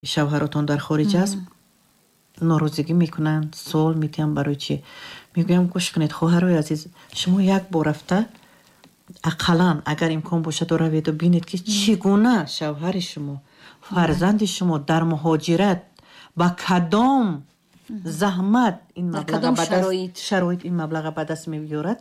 Шавҳаротон дар хориҷ аст, норозигӣ мекунанд, суол медиҳам, барои чӣ? Мегӯям, гӯш кунед, хоҳарои азиз, шумо як бор рафта, ақаллан агар имкон бошад, раведу бинед, ки чӣ гуна шавҳари шумо, фарзанди шумо дар муҳоҷират ба кадом заҳмат ин шароит, ин маблаға ба даст меорад,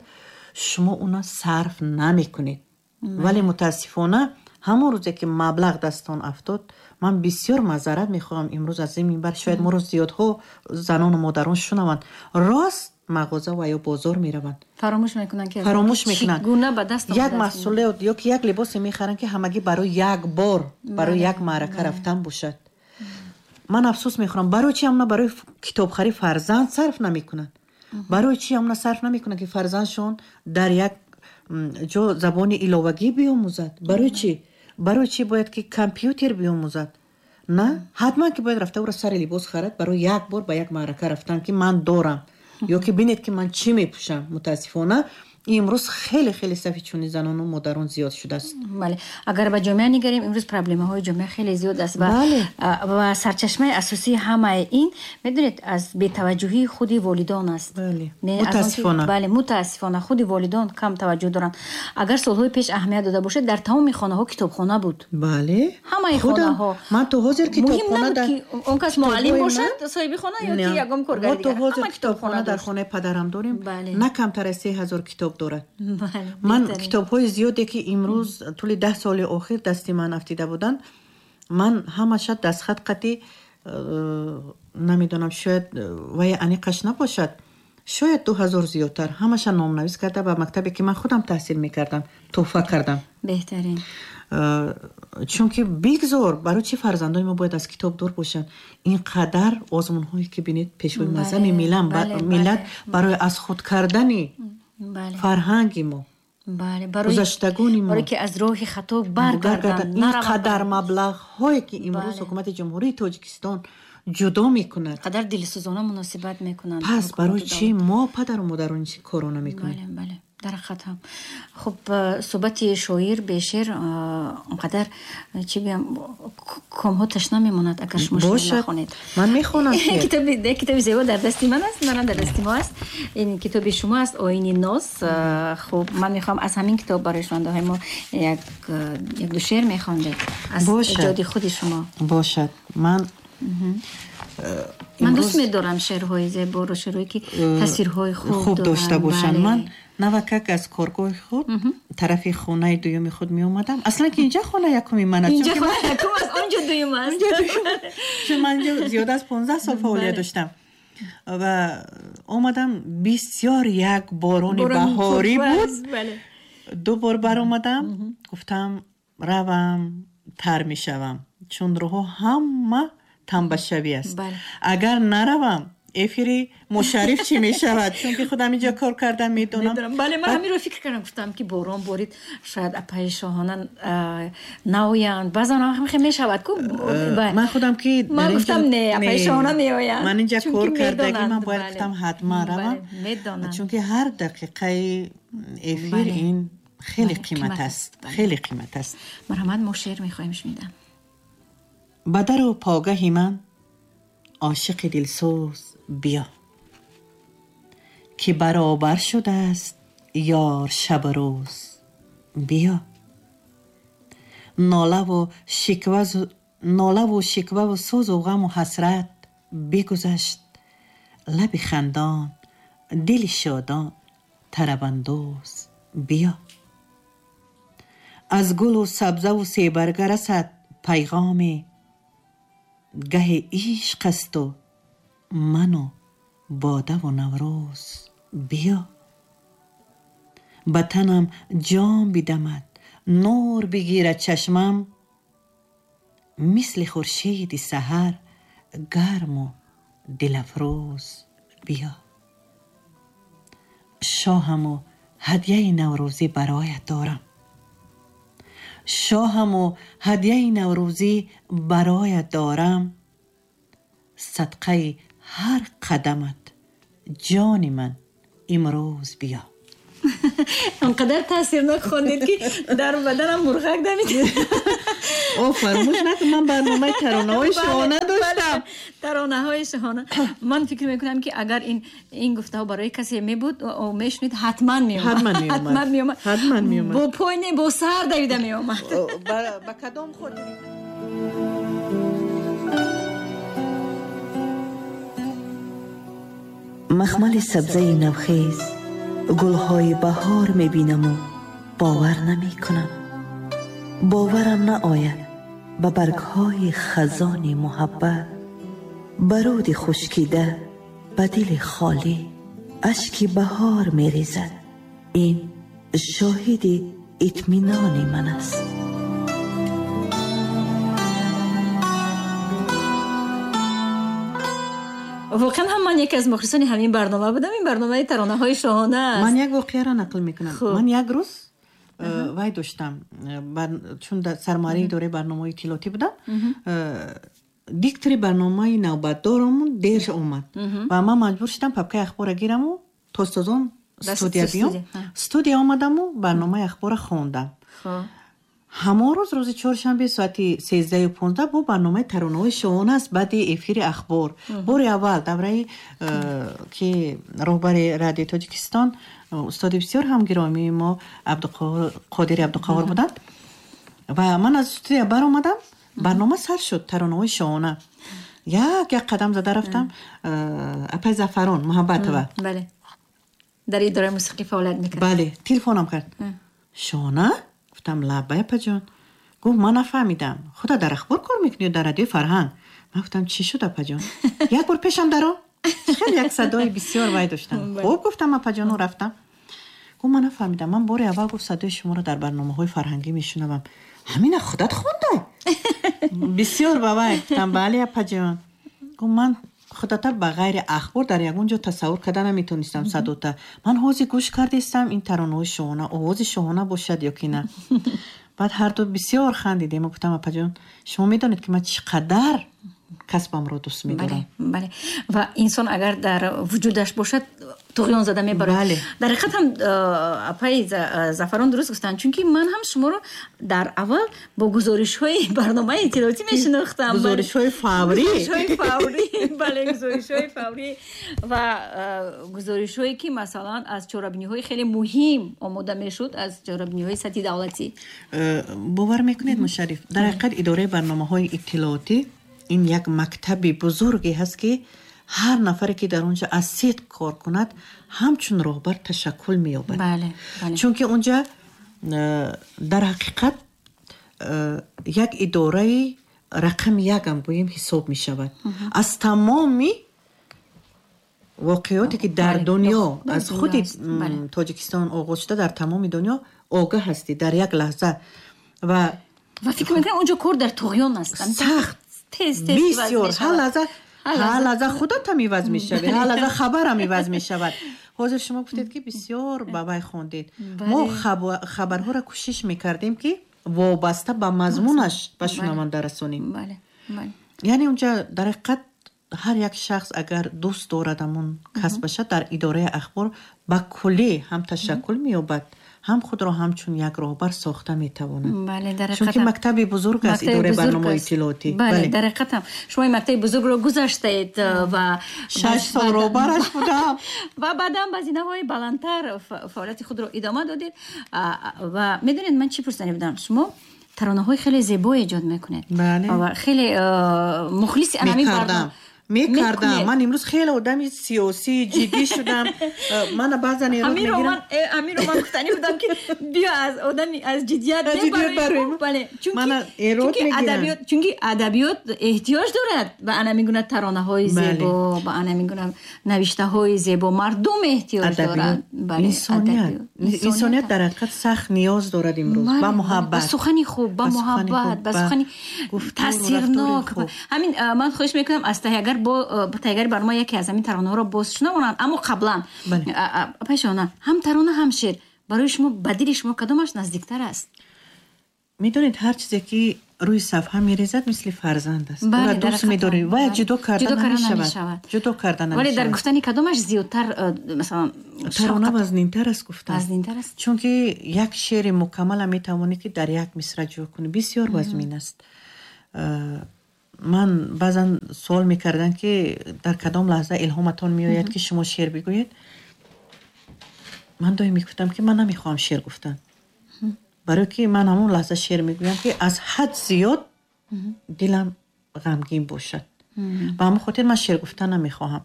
шумо уна сарф намекунед. Вале мутаассифона, ҳамон рӯзе ки маблағ дастон афтод, ман бисёр маъзарат мехоҳам, имрӯз аз ин минбар шояд моро зиёдҳо занону модарон шунаванд, рост мағоза ва ё бозор мераванд. Фаромӯш мекунанд, ки фаромӯш мекунанд. Гуна ба даст як маҳсулот ё ки як либосе мехаранд, ки ҳамагӣ барои як бор, барои як маърака рафтан бошад. Ман афсӯс мехӯрам, барои чи ҳамна барои китобхарӣ фарзанд сарф намекунанд? Барои чи ҳамна сарф намекунанд, ки фарзандшон дар як ҷо забони иловагӣ биомӯзад? Барои чӣ бояд ки компютер биомӯзад? На ҳатман ки бояд рафта ӯро сари либос харад барои як бор ба як маърака рафтан, ки ман дорам, ё ки бинед, ки ман чӣ мепӯшам. Мутаассифона, имрӯз хеле хеле сафи чунин занону модарон зиёд шудааст. Бале, агар ба ҷомеа нигарем, имрӯз проблемаҳои ҷомеа хеле зиёд аст ва сарчашмаи асосии ҳамаи ин, медонед, аз бетаваҷҷӯҳии худи волидон аст. Мутаассифона. Бале, мутаассифона, худи волидон кам таваҷҷӯҳ доранд. Агар солҳои пеш аҳамият дода бошед, дар тамоми хонаҳо китобхона буд. Ҳамаи хонаҳо. Ман то ҳозир китобхона, он кас муаллим бошад, соҳиби хона, ё ки ягон коргари. Мо то ҳозир китобхона дар хонаи падарам дорем, на камтар аз 3000 китоб дорад. Ман китобҳои зиёде, ки имрӯз тӯли 10 соли охир дасти ман афтида буданд, ман ҳамаша дастхат қати, намедонам, шояд вай аниқаш набошад, шояд 2000 зиёдтар, ҳамаша номнавис карда, ба мактабе, ки ман худам таҳсил мекардам, тӯҳфа кардам. Беҳтарин. Чунки бигзор, барои чӣ фарзандони мо бояд аз китоб дур бошанд? Ин қадар озмунҳое, ки бинед, пешвои муаззами миллат барои аз худ кардани фарҳанги мо, гузаштагони мо, барое ки аз роҳи хато баргарданд, ин қадар маблағҳое, ки имрӯз ҳукумати Ҷумҳурии Тоҷикистон ҷудо мекунад, қадар дилсӯзона муносибат мекунанд. Пас барои чӣ мо, падару модарон, корро намекунем? Бале, дар ҳақиқат ҳам. Хуб, суҳбати шоир бе шеър онқадар, чӣ гӯям, комҳо ташна мемонад, агар шумо шеър нахонед. Ман мехонам. Китоби зебо дар дасти ман аст, манам дар дасти мо аст. Ин китоби шумо аст, «Оини ноз». Хуб, ман мехоҳам аз ҳамин китоб барои шунавандаҳои мо як ду шеър мехондед аз эҷоди худи шумо. Бошад, ман Ман дӯст медорам шеърҳои зеборо, шеърҳое, ки тасвирҳои хуб дошта бошанд. Ман навакак аз коргоҳи худ тарафи хонаи дуюми худ меомадам. Аслан ки инҷа хона якуми ман аст. Инҷа хона якум аст, онҷо дуюм аст. Чун ман инҷо зиёда аз 15 сол фаъолият доштам ва омадам, бисёр як борони баҳорӣ буд. Ду бор баромадам, гуфтам, равам, тар мешавам, чун роҳҳо ҳама тамбашавӣ аст. Агар наравам, эфири Мушарриф чӣ мешавад? Чунки худам инҷо кор кардам, медонам. Бале, ман ҳаминро фикр кардам, гуфтам, ки борон борид, шояд апаи Шоҳона наоянд. Баъзан ҳам мешавад ку. Ман худам ки Ман гуфтам, не, апаи Шоҳона меоянд. Ман инҷа кор кардагӣ, ман бояд, гуфтам, ҳатман равам, чунки ҳар дақиқаи эфир ин хеле қимат аст, хеле қимат аст. Марҳамат, мо шеър мехоҳем шунидан. Ба дару погаҳи ман, ошиқи дилсӯз, биё, ки баробар шудааст ёр шабу рӯз, биё. Нолаву шикваву сӯзу ғаму ҳасрат бигузашт, лаби хандон, дили шодон, тарабандоз, биё. Аз гулу сабзаву себарга расад пайғоме, гаҳи ишқ асту ману бодаву Наврӯз, биё. Ба танам ҷон бидамад, нур бигирад чашмам, мисли хуршеди саҳар гарму дилафрӯз, биё. Шоҳаму ҳадяи наврӯзӣ бароят дорам, шоҳаму ҳадяи наврӯзӣ бароят дорам, садқаи ҳар қадамат, ҷони ман, имрӯз биё. Он қадар таъсирнок хондед, ки дар баданам мурғак дамид. О, фаромӯш накун, ман барномаи таронаҳои шоҳона доштам. Таронаҳои шоҳона. Ман фикр мекунам, ки агар ин гуфтаҳо барои касе мебуд, мешунид, ҳатман меомад. Ҳатман меомад. Бо пой не, бо сар давида меомад. Ба кадом хотир? Махмали сабзаи навхез, гулҳои баҳор мебинаму бовар намекунам. Боварам наояд ба баргҳои хазони муҳаббат, ба руди хушкида, ба дили холӣ ашки баҳор мерезад. Ин шоҳиди итминони ман аст. Воқеан ҳам ман яке аз мухлисони ҳамин барнома будам. Ин барномаи таронаҳои шоҳона аст. Ман як воқеаро нақл мекунам. Ман як рӯз вай доштам, чун сармуҳаррири идораи барномаҳои иттилоотӣ будам, диктори барномаи навбатдоромун дер омад ва ман маҷбур шудам папкаи ахборро гираму тозтозон студия биём. Студия омадаму барномаи ахборро хондам. Ҳамон рӯз, рӯзи чоршанбе, соати 13:15 бо барномаи таронаҳои шоҳона аст баъди эфири ахбор. Бори аввал давраи ки роҳбари радиои Тоҷикистон, устоди бисёр ҳам гиромии мо, Қодири Абдуқаҳор буданд ва ман аз студия баромадам, барнома сар шуд, таронаҳои шоҳона. Як як қадам зада рафтам, апай Зафарон Муҳаббатова дар идораи мусиқӣ фаъолият мекард. Бале, телефонам кард. Шоҳона? Гуфтам, лаббай, апаҷон. Гуфт, ман нафаҳмидам, худа дар ахбор кор мекунӣ ё дар радиои Фарҳанг? Ман гуфтам, чӣ шуд, апаҷон? Як бор пешам даро. Хеле як садои бисёр вай доштам. Хуб, гуфтам, апаҷону рафтам. Гуфт, ман нафаҳмидам, ман бори аввал, гуфт, садои шуморо дар барномаҳои фарҳангӣ мешунавам. Ҳамина худат хондай? Бисёр ба вай. Гуфтам, бале, апаҷон. Гуфт, ман худата ба ғайри ахбор дар ягон ҷо тасаввур карда наметонистам садота. Ман ҳозир гӯш кардистам, ин таронаҳои шоҳона, овози шоҳона бошад ё ки на. Баъд ҳарду бисёр хандидем. Гуфтам, апаҷон, шумо медонед, ки ман чӣ қадар касбамро дӯст медорам. Бале, ва инсон агар дар вуҷудаш бошад, туғён зада мебарад. Дар ҳақиқат ҳам апаи Зафарон дуруст гуфтанд, чунки ман ҳам шуморо дар аввал бо гузоришҳои барномаи иттилоотӣ мешинохтам. Гузоришҳои фаврӣ. Гузоришҳои фаврӣ, бале, гузоришҳои фаврӣ ва гузоришҳое ки масалан аз чорабиниҳои хеле муҳим омода мешуд, аз чорабиниҳои сатҳи давлатӣ. Бовар мекунед, Мушарриф, дар ҳақиқат идораи барномаҳои иттилоотӣ ин як мактаби бузурге ҳаст, ки ҳар нафаре ки дар онҷа аз сидқ кор кунад, ҳамчун роҳбар ташаккул меёбад. Чунки онҷа дар ҳақиқат як идораи рақами якам гӯем ҳисоб мешавад. Аз тамоми воқеоте ки дар дунё, аз худи Тоҷикистон оғоз шуда, дар тамоми дунё огаҳ ҳастӣ дар як лаҳза. Ва фикр мекунам онҷо кор дар туғён аст. Сахт, бисёр. Ҳар лаҳза худатам иваз мешавӣ, ҳар лаҳза хабарам иваз мешавад. Ҳозир шумо гуфтед, ки бисёр ба вай хондед. Мо хабарҳоро кӯшиш мекардем, ки вобаста ба мазмунаш ба шунаванда расонем. Яъне онҷа дар ҳақиқат ҳар як шахс агар дӯст дорад ҳамон касбаша, дар идораи ахбор ба куллӣ ҳам ташаккул меёбад, ҳам худро ҳамчун як роҳбар сохта метавонад. Чунки мактаби бузург аст идораи барномаҳои иттилоотӣ. Бале, дар ҳақиқат ҳам шумо ин мактаби бузургро гузаштаед ва 6 сол роҳбараш будам ва баъдан ба зинаҳои баландтар фаъолияти худро идома додед. Ва медонед, ман чӣ пурсанӣ будам? Шумо таронаҳои хеле зебо эҷод мекунед ва хеле мухлиси ҳамин барнома мекардам. Ман имрӯз хеле одами сиёсӣ ҷиддӣ шудам. Мана баъзан эрод мегирам. Ҳаминро ман гуфтанӣ будам, ки биё аз одами аз ҷиддият мебароем. Бале, мана эрод мегирам. Чунки адабиёт эҳтиёҷ дорад ба ана мегуна таронаҳои зебо, ба ана мегуна навиштаҳои зебо. Мардум эҳтиёҷ дорад. Инсоният дар ҳақиқат сахт ниёз дорад имрӯз ба муҳаббат, ба сухани хуб, ба муҳаббат, ба сухани таъсирнок. Ҳамин ман хоҳиш мекунам аз таҳиягар бо таҳиягари барнома яке аз ҳамин таронаҳоро боз шунавонанд. Аммо қаблан пешона ҳам тарона ҳам шеър барои шумо, ба дили шумо кадомаш наздиктар аст? Медонед, ҳар чизе ки рӯи сафҳа мерезад, мисли фарзанд аст. Ӯро дӯст медорӣ ва ҷудо карда намешавад. Ҷудо карда намешавад. Вале дар гуфтани кадомаш зиёдтар, масалан, тарона вазнинтар аст гуфтан. Вазнинтар аст. Чунки як шеъри мукаммала метавонӣ ки дар як мисра ҷо кунӣ. Бисёр вазмин аст. Ман баъзан суол мекардам, ки дар кадом лаҳза илҳоматон меояд, ки шумо шеър бигӯед. Ман доим мегуфтам, ки ман намехоҳам шеър гуфтан. Барои ки ман ҳамон лаҳза шеър мегӯям, ки аз ҳад зиёд дилам ғамгин бошад. Ба ҳамон хотир ман шеър гуфтан намехоҳам.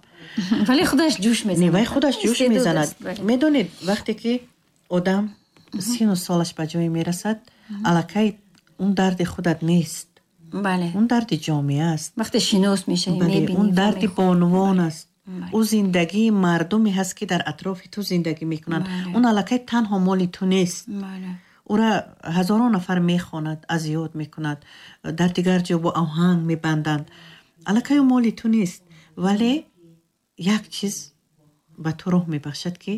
Вале худаш ҷӯш мезанад. Вай худаш ҷӯш мезанад. Медонед, вақте ки одам сину солаш ба ҷое мерасад, аллакай он дарди худат нест. Бале. Он дарди ҷомеа аст. Вақте шинос мешавӣ, мебинӣ. Он дарди бонувон аст. Ӯ зиндагии мардуме ҳаст, ки дар атрофи ту зиндагӣ мекунанд. Он аллакай танҳо моли ту нест. Ӯра ҳазорон нафар мехонад, аз ёд мекунад, дар дигар ҷо бо оҳанг мебанданд. Аллакай ӯ моли ту нест, вале як чиз ба ту роҳ мебахшад, ки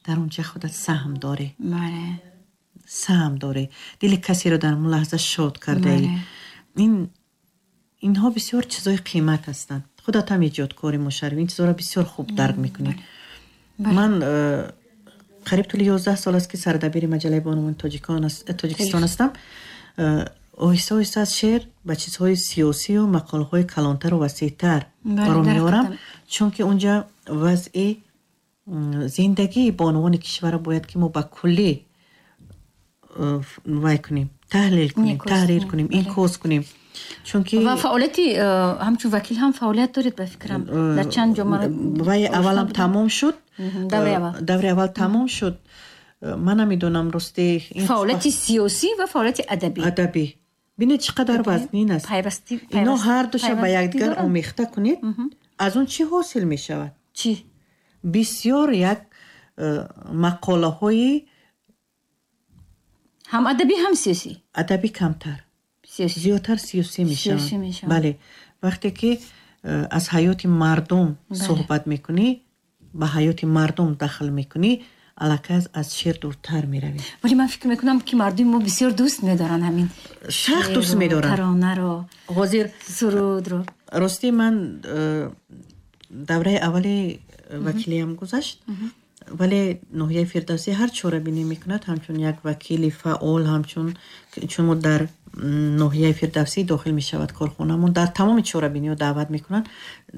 дар он ҷа худат саҳм дорӣ. Саҳм дорӣ. Дили касеро дар он лаҳза шод кардаӣ. Инҳо бисёр чизҳои қимат ҳастанд. Худат ҳам эҷодкори мушарраф, ин чизҳоро бисёр хуб дарк мекунӣ. Ман қариб тӯли 11 сол аст, ки сардабири маҷаллаи бонувони Тоҷикистон ҳастам. Оҳиста оҳиста аз шеър ба чизҳои сиёсию мақолаҳои калонтару васеътар ро меорам, чунки унҷа вазъи зиндагии бонувони кишварро бояд ки мо ба куллӣ вай кунем, таҳлил кунем, таҳрир кунем, инъикос кунем. Чунки ва фаъолияти ҳамчун вакил ҳам фаъолият доред, ба фикрам, дар чанд ҷо. Вай аввалам тамом шуд. Даври аввал тамом шуд. Ман намедонам, рости. Фаъолияти сиёсӣ ва фаъолияти адабӣ. Адабӣ. Бинед, чӣ қадар вазнин аст. Ино ҳар душа ба якдигар омехта кунед, аз он чӣ ҳосил мешавад? Чӣ? Бисёр як мақолаҳои ҳам адабӣ, ҳам сиёсӣ. Адабӣ камтар, зиёдтар сиёсӣ мешаванд. Бале, вақте ки аз ҳаёти мардум суҳбат мекунӣ, ба ҳаёти мардум дахл мекунӣ, аллакай аз шеър дуртар меравӣ. Вале ман фикр мекунам, ки мардуми мо бисёр дӯст медоранд ҳамин сахт дӯст медоранд таронаро, ҳозир сурудро. Ростӣ, ман давраи аввали вакилиям гузашт, вале ноҳияи Фирдавсӣ ҳар чорабинӣ мекунад, ҳамчун як вакили фаъол, ҳамчун чун мо дар ноҳияи Фирдавсӣ дохил мешавад корхонамон, дар тамоми чорабиниҳо даъват мекунанд,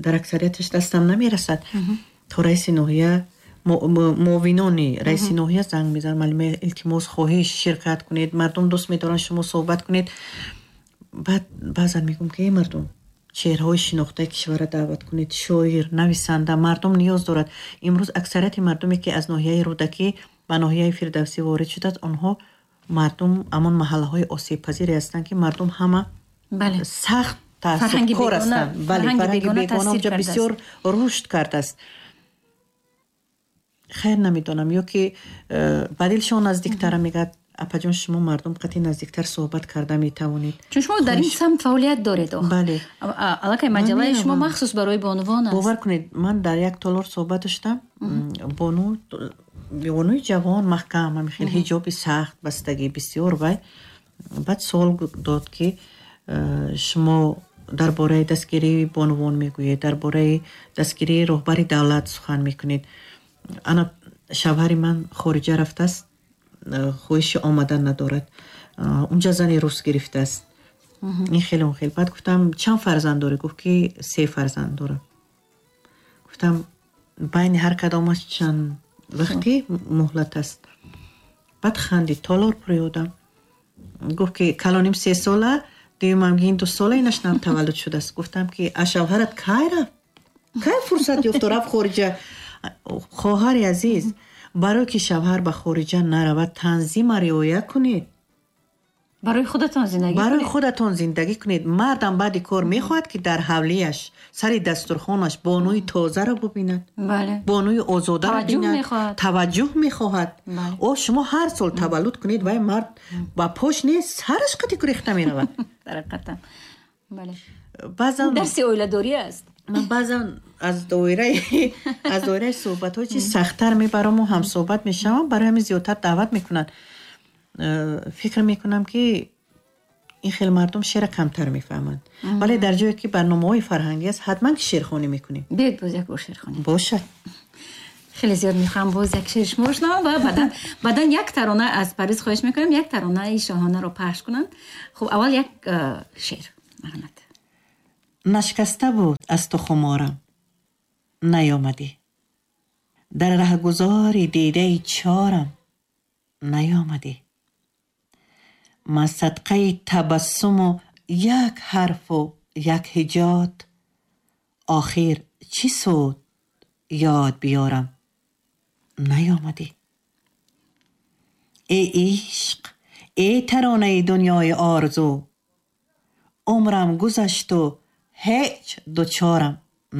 дар аксарияташ дастам намерасад. То раиси ноҳия, муовинони раиси ноҳия занг мезананд: «Муаллима, илтимос, хоҳиш, ширкат кунед, мардум дӯст медоранд шумо суҳбат кунед». Баъд баъзан мегӯм, ки эй мардум, чеҳраҳои шинохтаи кишварро даъват кунед, шоир, нависанда, мардум ниёз дорад. Имрӯз аксарияти мардуме, ки аз ноҳияи Рӯдакӣ ба ноҳияи Фирдавсӣ ворид шудааст, онҳо мардум ҳамон маҳаллаҳои осебпазире ҳастанд, ки мардум ҳама сахт таассубкор ҳастанд. Бале, фарҳанги бегона онҷа бисёр рушд кардааст. Хайр, намедонам, ё ки ба дилшон наздиктара мегӯяд: «Апаҷон, шумо мардум қатъи наздиктар суҳбат карда метавонед». Чун шумо дар ин самт фаъолият доред. Бале. Аллакай маҷаллаи шумо махсус барои бонувон аст. Бовар кунед, ман дар як толор суҳбат доштам. Бону, бонуи ҷавон, маҳкам, ҳамин хел ҳиҷоби сахт бастагӣ, бисёр вай. Баъд суол дод, ки шумо дар бораи дастгирии бонувон мегӯед, дар бораи дастгирии роҳбари давлат сухан мекунед, ана шавҳари ман хориҷа рафтааст, хоҳиши омадан надорад, унҷа зани рус гирифтааст, ин хеле, он хел. Баъд гуфтам: «Чанд фарзанд дорӣ?» Гуфт, ки се фарзанд дорам. Гуфтам: «Байни ҳар кадомаш чанд вақти муҳлат аст?» Баъд хандид, толор пури одам. Гуфт, ки калоним 3 сола, дуюмам ин 2 сола, инаш нав таваллуд шудааст. Гуфтам, ки а шавҳарат кай рафт, кай фурсат ёфту рафт хориҷа? Хоҳари азиз, барое ки шавҳар ба хориҷа наравад, танзима риоя кунед. Барои худатон зиндагӣ. Барои худатон зиндагӣ кунед. Мардам баъди кор мехоҳад, ки дар ҳавлияш, сари дастурхонаш бонуи тозаро бубинад, бонуи озодаро бинад, таваҷҷӯҳ мехоҳад. О, шумо ҳар сол таваллуд кунед, вай мард ба пош нест, сараш қати гурехта меравад. Баъзан дарси оиладорӣ аст. Ман баъзан аз доираи суҳбатҳо чи сахттар мебараму ҳамсуҳбат мешавам, барои ҳамин зиёдтар даъват мекунанд. Фикр мекунам, ки Ин хел мардум шеъра камтар мефаҳманд, вале дар ҷое ки барномаҳои фарҳангӣ аст, ҳатман ки шеърхонӣ мекунем. Биёед, боз як бор шеърхонӣ. Бошад. Хеле зиёд мехоҳам боз як шеъри шумо бишнавам ва баъдан як тарона аз Парвиз хоҳиш мекунам, як таронаи шоҳонаро пахш кунанд. Хуб, аввал як шеър, марҳамат. Нашкаста буд аз ту хуморам, наёмадӣ. Дар раҳгузори дидаи чорам, наёмадӣ. Ман садқаи табассуму як ҳарфу як ҳиҷот, охир чӣ суд ёд биёрам, наёмадӣ. Эй ишқ, эй таронаи дунёи орзу, умрам гузашту ҳеҷ дучорам,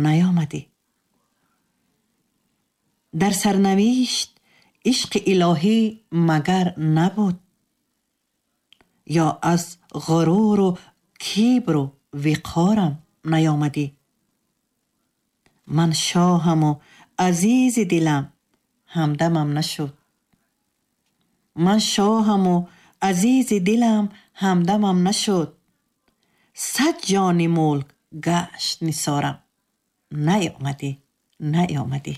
наёмадӣ. Дар сарнавишт ишқи илоҳӣ магар набуд, ё аз ғуруру кибру виқорам наёмадӣ. Ман шоҳаму азизи дилам ҳамдамам нашуд. Ман шоҳаму азизи дилам ҳамдамам нашуд. 100 ҷони мулк гашт нисорам, наёмадӣ, наёмадӣ.